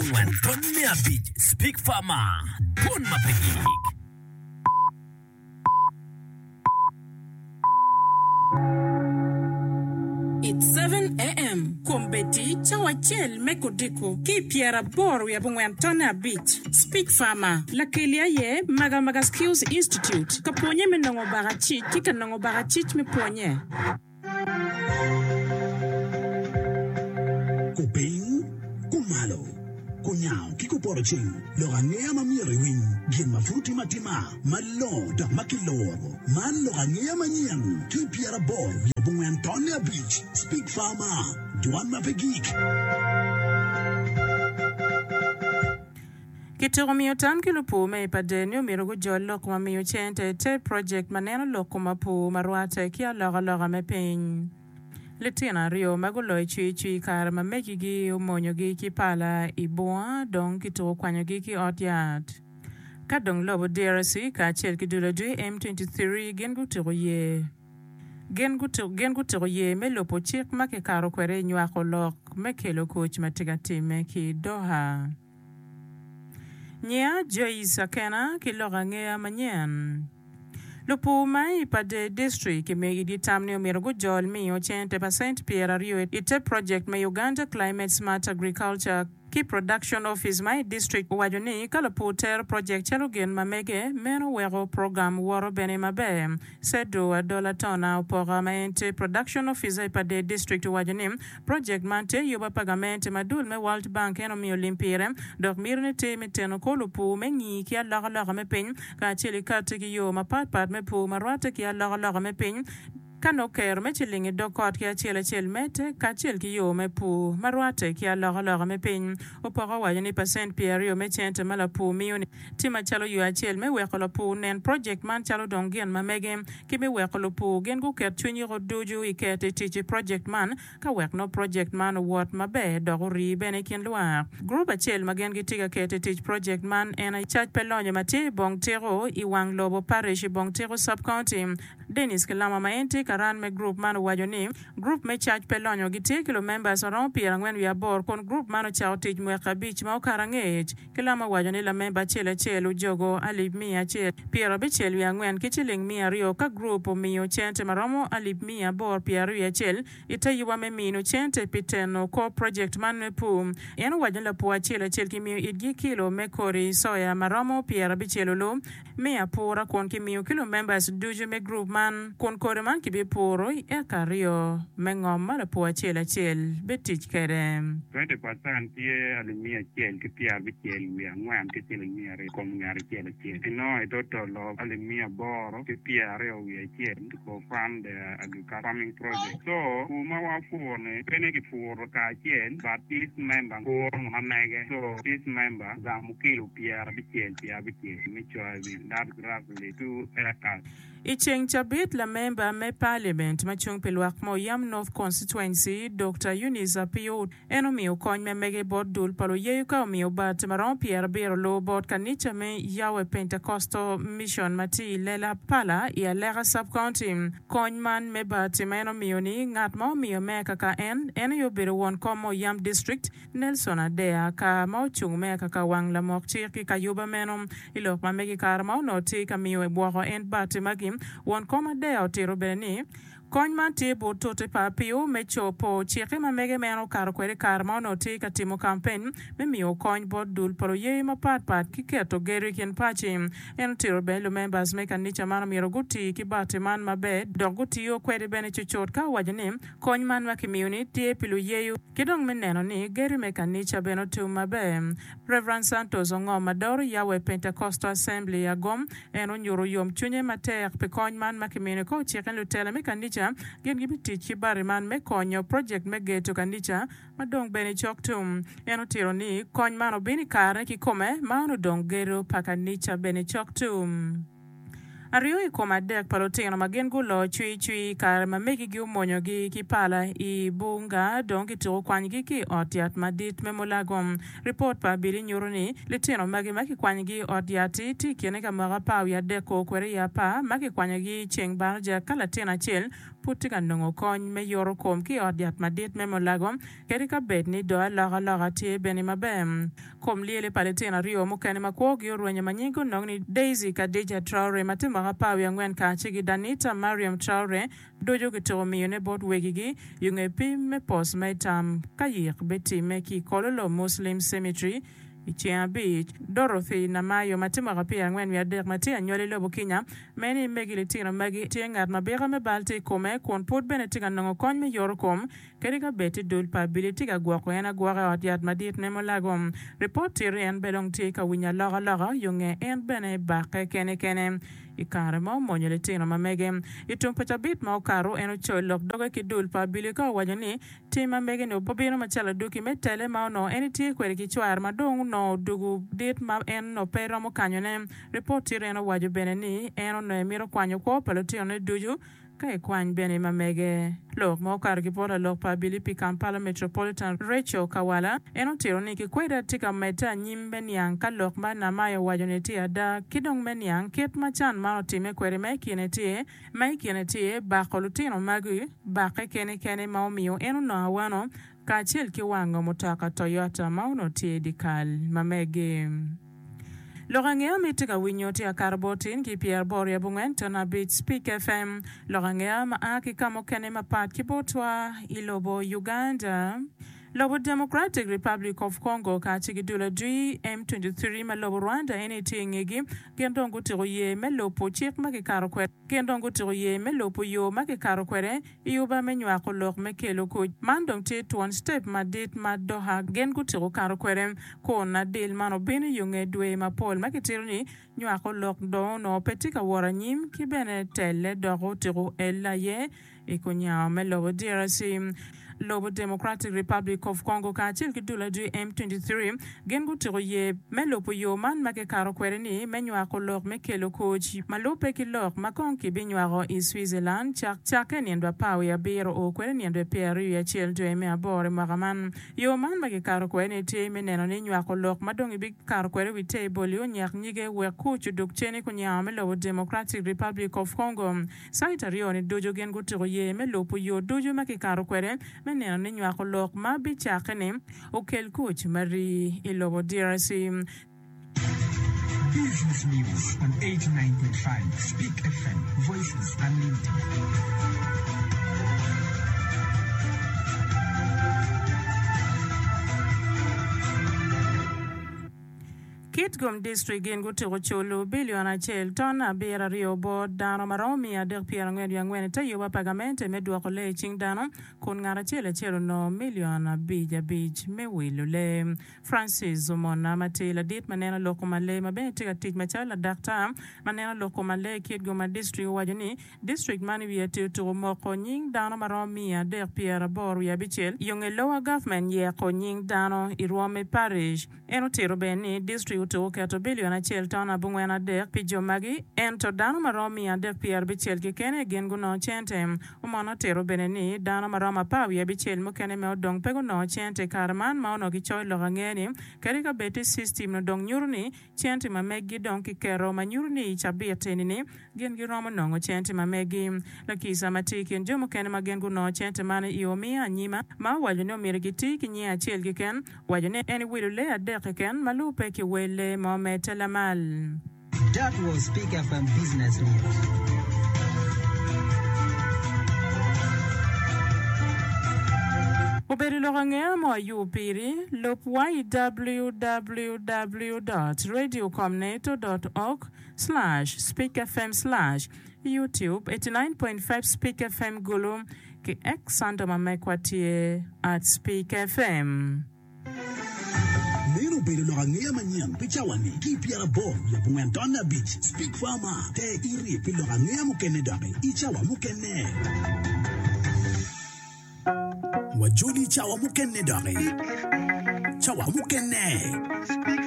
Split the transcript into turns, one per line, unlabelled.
abongwen tony me abic Speak Farmer, Dwon ma pe gik.
It's 7am, Kombeddi cawa acel me kudiko ki i pyeraboro wiye abongwen tonne abic. Speak Farmer, Lakeli aye Maga Maga Skills Institute ka pwonye me nongo bakacic ki ka nongo bakacic me pwonye.
Kupiny, kumalo, kunyango ki kupoto ceng, lok angeya ma myero iwiny, gin ma pud otime atima, malongo dok ma kiluro. Man lok angeya manyen ki i pyeraboro wiye abongwen tonne abic, Speak Farmer, Dwan ma pe gik.
Kituko miyo tam ki lupur me i Pader ni omyero gujol lok ma miyo cente i te project ma neno lok kom apur ma rwate ki alokaloka me piny. Litino aryo ma guloyo cwicwi i kare ma megigi omonyogi ki pala i bunga dong kituko kwanyogi ki ot yat. Ka dong lobo DRC kacel ki dul adwi M23 gin gutuko ye gin gutuko ye me lubo cik ma kikato kwede i nywako lok me kelo kuc ma tye ka timme ki Doha. Nyiya Joyce Akena ki lok angeya manyen. Lupur ma i Pader District kimiyo itgi tam ni omyero gujol miyo cente pacent pyeraryo i te project me Uganda Climate Smart Agriculture ki Production Office ma i district owaco ni ka lupur tero project calo gin ma mege meno weko program woto bene maber. Sedu Adola Tona Opoka ma en tye Production Officer i Pader District owaco ni Projek man tye yuba pa gamente ma dul me World Bank en omiyo lim pire dok mitine tye me teno kor lupur me ngi ki alokaloka me piny kacel ki kati ki yo mapat pat me pur ma rwatte ki alokaloka me piny ka nongo kero me ciling i dog kot ki acel acel medde kacel ki yo me pur ma rwatte ki alokaloka me piny. Opoko owaco ni pacent pyeraryo me cente ma lapur miyo ni tye macalo yo acel me weko lapur nen projek man calo dong gin ma mege ki me weko lupur gin guket cwinygi ducu i keto i tic i projekt man ka wek nongo projekt man owot maber dok orii bene i kin lwak. Gurup acel ma gin gitye ka keto i tic projekt man en aye Cac pe Lonyo ma tye i Bong Tiko i wang lobo Parish i Bong Tiko Sub-County. Dennis Kilama ma en tye karan me gurup man owaco ni, Gurup me Cac pe Lonyo gitye ki lumembers ma romo pyerangwen wiye aboro kun gurup man ocako tic mwaka abic ma okato angec. Kilama owaco ni lamemba acel acel ojogo alip miya acel pyerabicel wiye angwen ki ciling miya aryo ka gurup omiyo cente ma romo alip miya aboro pyeraryo wiye acel i te yuba me mino cente pi teno kor project man me pur. En owaco ni lapur acel acel kimiyo itgi kilo me kodi soya ma romo pyerabicel olu me apura kun kimiyo ki lumembers ducu me gurup man kun kodi man kibipuro i eka aryo me ngom ma lapur acel acel bitic kwede.
20 percent tye alip miya acel ki pyerabicel wiye angwen ki ciling miya aryo i kom ngat acel acel. Inongo i total of alip miya aboro ki pyeraryo wiye acel to co fund the agriculture farming project. So pur ma wapuro ni pe ni kipuro kacel but each member puro ma mege so each member gamo kilo pyerabicel pyerabicel me soybean that is roughly two acres.
I ceng cabit, lamemba me Parliament ma cung pi lwak ma Oyam North Constituency, Dokta Eunice Apiyo, en omiyo kony me mege bot dul pa luyeyo ka omiyo bati ma romo pyerabiro lubo bot kanica me Yahweh Pentecostal Mission ma tye i Lela Pala i Aleka Sub-County. Kony man me bati ma en omiyo-ni, ngat ma omiyo me kaka en, en aye obedo won kom ma Oyam District, Nelson Adea ka ma ocung me akaka wang lamok cik ki kayuba meno. I lok ma megi kare ma onongo tye ka miyo ebwoko en bati magi, won kom Adea otito bene ni, Kony man tye but tute pa Apio me copo cikke ma mege meno okato kwede i kare ma onongo tye ka timo kampen me miyo kony bot dul pa luyeyo mapat pat ki keto gedo i kin paci. En otito bene lumembers me kanica man omyero guti ki bati man maber dok gutiyo kwede bene cucut ka owaco ni Kony man ma kimiyo-ni tye pi luyeyo ki dong me neno ni gedo me kanica bene otum maber. Rev. Santos Ongom ma doro Yahweh Pentecostal Assembly i Agom, en onyuto yomcwinye matek pi kony man ma kimiyo-ni ka ociko ni lutela me kanica gin gibitic ki bati man me konyo project me gedo kanica ma dong bene cok tum. En otito ni kony man obino i karene kikome ma onongo dong gedo pa kanica bene cok tum. Aryo i kom adek pa lutino ma gin gulo cwicwi i kare ma megigi omonyogi ki pala i bunga dong kituko kwanyogi ki i ot yat madit me Mulago. Ripot pa abili nyuto ni litino magi ma kikwanyogi i ot yat-ti tye i kine ka mwaka apar wiye adek o kwede i apar ma kikwanyogi i ceng baraja ka latin acel. pud tye ka nongo kony me yoto kom ki i ot yat madit me Mulago kadi ka bed ni dong alokaloka tye bene maber. Kom lyele pa litino aryo mukene ma kwogi orwenyo ma nyinggi onongo ni Daisy Kadija Traore ma tye mwaka apar wiye angwen kacel ki Danita Mariam Traore ducu kituko miyone bot wegigi yo nge pim me post me tam ka yik bitimme ki i Kololo Muslim Cemetery i ceng abic. Dorothy Namayo ma tye mwaka pyerangwen wiye adek ma tye anywali lobo Kenya me ni megi litino magi tye ngat ma bika me bal tye i kome kun pud bene tye ka nongo kony me yoto kom Kadi ka bed ti dul pa abili tye ka gwoko en agwoka i ot yat madit me Mulago, ripot tito ni en bene dong tye ka winyo alokaloka yo nge en bene bakke kene kene i kare ma omonyo litino ma mege. I tum pa cabit ma okato, en ocoyo lok doge ki dul pa abili ka owaco ni tim ma mege-ni obino macalo adwogi me tele ma onongo en etye kwede ki cware ma dong onongo odugu dit ma en onongo pe romo kanyone. Ripot tito en owaco bene ni en onongo emito kwanyo kwo pa lutinone ducu Ka ikwany bene ma mege. Lok ma okato ki bot lalok pa abili pi Kampala Metropolitan, Rachel Kawala, en otito ni kikweda tye ka medde anyim me niang ka lok ma Namayo owaco ni tye ada ki dong me niang kit ma can man otimme kwede ma ikine tye ma ikine tye bako lutino magi bakke kene kene ma omiyo en onongo awano kacel ki wango mutoka Toyota ma onongo tye i dyekal ma megi. Lok angeya ma itye ka winyo tye akato bot tin ki pyeraboro i abongwen ton abic Speak FM. Lok angeya ma a ki ka mukene mapat ki botwa i lobo Uganda. Lobo Democratic Republic of Congo kacel ki dul adwi M23 ma lobo Rwanda eni tye i ngegi gin dong gutyeko ye me lubo cik ma kikato kwede gin dong gutyeko ye me lubo yo ma kikato kwede I yuba me nywako lok me kelo kuc man dong tye twon citep madit ma Doha gin gutyeko kato kwede kun adil man obino i yo nge dwe mapol ma kitito ni nywako lok dong onongo pe tye ka wot anyim ki bene telle dok otyeko elle aye i kunyango me lobo DRC. Lobo Democratic Republic of Congo kacel ki dul adwi M23 gin gutyeko ye me lubo yo man ma kikato kwede ni me nywako lok me kelo kuc ma lubbe ki lok ma kong kibinywako i Switzerland cakke i nindo apar wiye abiro o kwede nindo pyeraryo wiye acel dwe me aboro i mwaka man. Yo man ma kikato kwede ni tye me neno ni nywako lok ma dong ibikato kwede i wi table-li onyak nyige wek kuc odug cen i kunyango me lobo Democratic Republic of Congo. Cait aryo-ni ducu gin gutyeko ye me lubo yo ducu ma kikato kwede me neno ni nywako lok ma bicakke-ni okel kuc ma rii i lobo DRC.
Business News on 89.5 Speak FM, Voices Unlimited.
Kitgum District gin gutyeko culo bilion acel ton abiro aryo bot dano ma romo miya adek pyerangwen wiye angwen ite yuba pa gamente me dwoko lee i cing dano kun ngat acel acel onongo milion abic abic me wilo lee. Francis Omona ma tye ladit ma neno lok kom alee ma bene tye ka tic macalo ladaktar ma neno lok kom alee i Kitgum District owaco ni District man i wiye atir otuko moko nying dano ma romo 386 yo nge lower government yeko nying dano i rwom me parish. En otito bene ni district otuko keto bilion acel ton abongwen adek pi jo magi ento dano ma romo 360 keken gin gunongo cente. Omon otito bene ni dano ma romo apar wiye abicel mukene me odong pe gunongo cente i kare man ma onongo kicoyo lok ange ni kadi ka bed ti system no dong nyuto ni Cente ma meggi dong kiketo ma nyuto ni i cabit eni-ni gin giromo nongo cente ma meggi. Lakica ma tye i kin jo mukene ma gin gunongo cente man i omiyo anyima ma owaco ni omyero giti ki nyinge acel keken, owaco ni en ewilo lee adek keken ma lubbe ki wel lee ma omedde lamal.
That was Speak FM Business News.
Obedo lok angeya mo ayub piri, lub wa i www dot radiocomneto dot org slash speakfm slash youtube 89.5 speak fm Gulu ki X handle ma mekwa tye at speak fm.
Meno obedo lok angeya manyen pi cawa-ni ki i pyeraboro wiye abongwen tonne abic. Speak Farmer, Ter iti pi lok angeya mukene doki i cawa mukene. Wajoli i cawa mukene doki. Cawa mukene.